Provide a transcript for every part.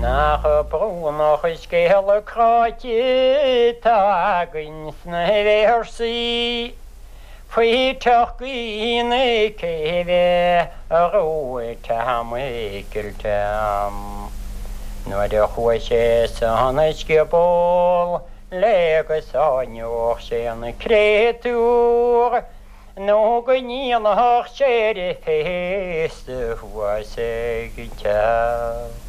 'S nach brónach an scéal cráite 'tá againn sna véarsaí faoi theach na céibhe a raibh Tom Mhicil Tom nuair a chuaigh sé san scioból le go sáinneodh sé an créatúr. Nó go ndéanfadh sé air féasta thuas ag an teach.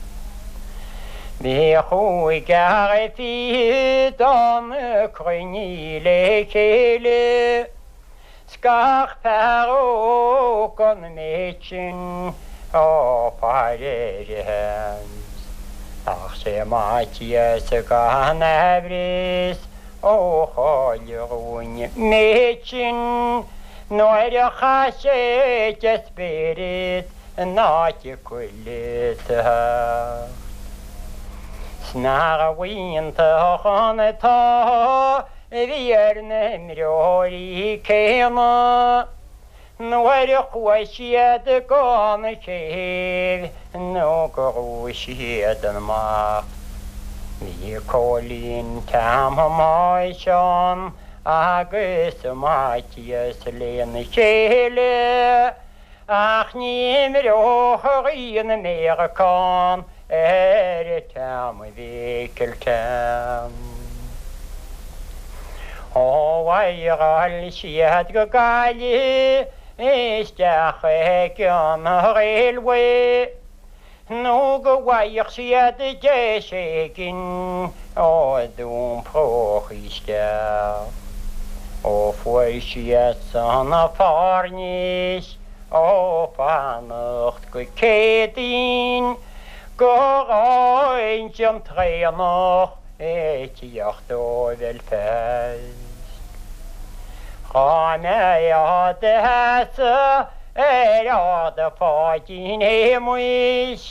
Bhí cúigear fichead ann cruinnithe le chéile, 's gach fear óg an méid sin á faire air. Ach 'sé Maitias gan aimhreas Ó chaill an méid sin nuair a chaith sé de spiorad in áit chuile theacht. 'S nárbh iontach an t-ádh a bhí ar na himreoirí céanna. Nuair a chuaigh siad gon chéibh nó go raibh siad amach. Bhí Cóilín Tom Thomáis Seán agus Maitias lena chéile ach ní imreodh rí na Méaracán ar Tom Mhicil Tom. Ó mhaireáil siad go Gaillimh isteach ag an Railway nó go bhfaigheadh siad deis éigin ó d'iompróchaí isteach. Ó fuair siad san fairnéis ó fanacht go Céadaoin go raibh an traenach ag tíocht ó Bhelfast. Dhá mbeifeá 'do sheasamh ar Ard Pháidín Shéamuis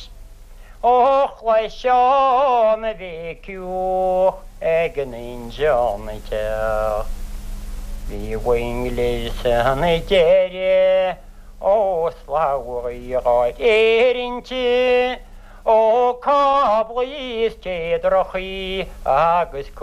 ó chloisfeá an bhéiciúch ag an injeán ag teacht. Bhí mhuinghlir san deireadh ó slabhraí dhá réir inti, ó cáblaí is téadrachaí agus.